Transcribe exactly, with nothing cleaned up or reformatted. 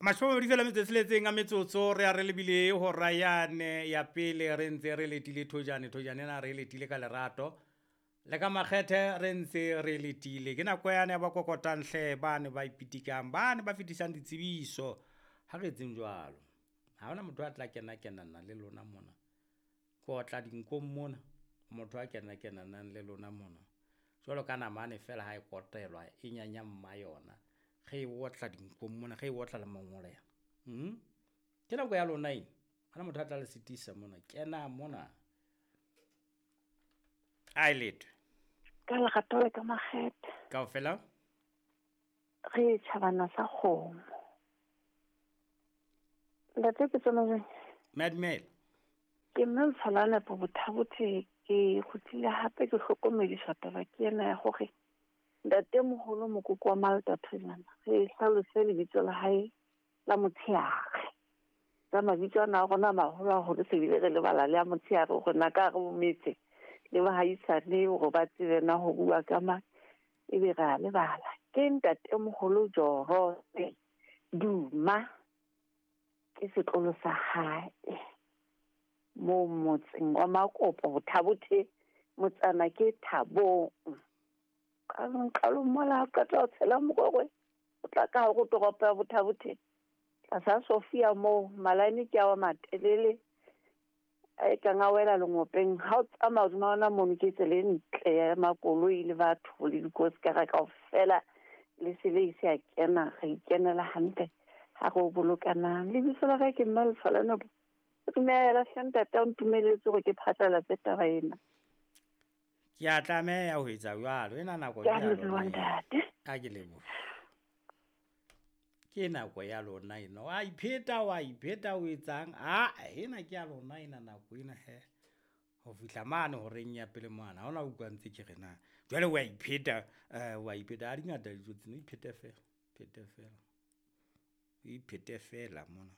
Mashome a mabedi feela metso e tsheletseng a metsotso re a re lebile hora yane ya pele re ntse re letile thojane. Thojane ena re letile ka lerato le ka makgethe re ntse re letile. Ke nako yane ya ba kokotang hle, bane ba ipitikang, bane ba fetisang ditsebiso. Ha re etseng jwalo, ha hona motho a tla kena kenana le lona mona. Ke otla dinkong mona, motho a kena kenanang le lona mona. Jwalo ka namane feela ha e kotelwa e nyanya mma yona. Re e otla dinkong mona, re e otla le mangole. Hmm? Ke nako ya lona ena. Hona motho a tla le sitisa mona. Kena mona. A e letwe. Ka lerato le ka makgethe. Kaofela? Re tjhabana sa kgomo. Ntate ke tsona jwang? Madumela. Ke mme Mfalane po Bothabothe, ke kgutlile hape ke hlokomediswa taba ke ena ya hore ntate moholo mokoko wa Malta Thojana re hlalose lebitso la hae la motsheare. Ka mabitso ana a rona a maholo haholo se bile re lebala le a motsheare hore na ka hare ho metse le bahaisane hore ba tsebe na ho bua ka mang, ebe re a lebala. Ke ntate moholo Jorose Duma, ke setlolo sa hae moo motseng wa Makopo Bothabothe, motsana ke Thabong. Qalong, qalong mola ha o qeta ho tshela Mokokwe, o tla ka hare ho toropo ya Bothabothe tlasa Sofia moo malane ke a wa matelele a e kang a wela lengopeng. Ha o tsamaya hodima ona mono ke tsela e ntle ya makoloi le batho le dikosekara kaofela, le se le ise a kena, re ikenela hantle ha re o bolokanang. Lebitso la ka ke Mme Lefalane. Dumela hle ntate, o ntumeletse hore ke phatlalatse taba ena. Ke a tlameha ho etsa jwalo. Ena nako Ke a ke ya leboha, lona ena. ntate. A ke lebohe. Ke nako ya lona ena. Wa ipheta, wa ipheta o etsang? Ah, ena ke ya lona ena nako ena he. Ho fihla mane horeng ya pele mane, ha hona utlwa ntse ke re na. Jwale wa ipheta, eh, wa ipheta. Ha di ngata dijo tsena, iphete feela, iphete feela. Iphete feela mona.